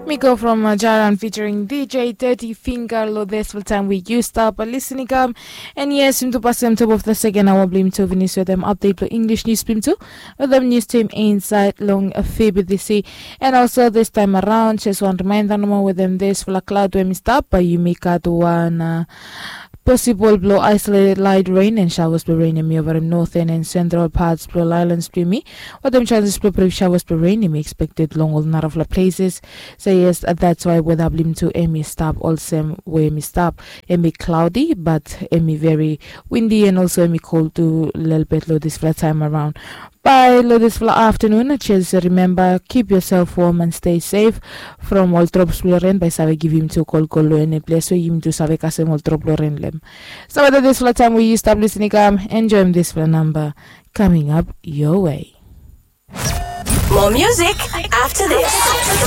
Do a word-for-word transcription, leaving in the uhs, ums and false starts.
Mi go from uh, Jaran featuring D J thirty Finger lo this full time we used up a listening come. And yes, into pasem top of the second hour blim to finish with them update lo English news blim to with them news team inside long a favorite this. And also this time around, just one reminder no more with them this full cloud when we stop, but you make out one uh, possible blow isolated light rain and showers blow rain in me over northern and central parts blow islands blow me. What them chances blow brief showers blow rain in me expected long all narafla places. So yes, uh, that's why weather blim to emi stop also where me stop. Emi cloudy, but emi very windy and also emi cold to little bit low this flat time around. By lo this fla afternoon, just remember keep yourself warm and stay safe from all drops lo rain by save give him to call call lo any place where him to save kasem all drop lo rain lem. So whether this fla time where you stop listening, come enjoy this fla number coming up your way. More music after this.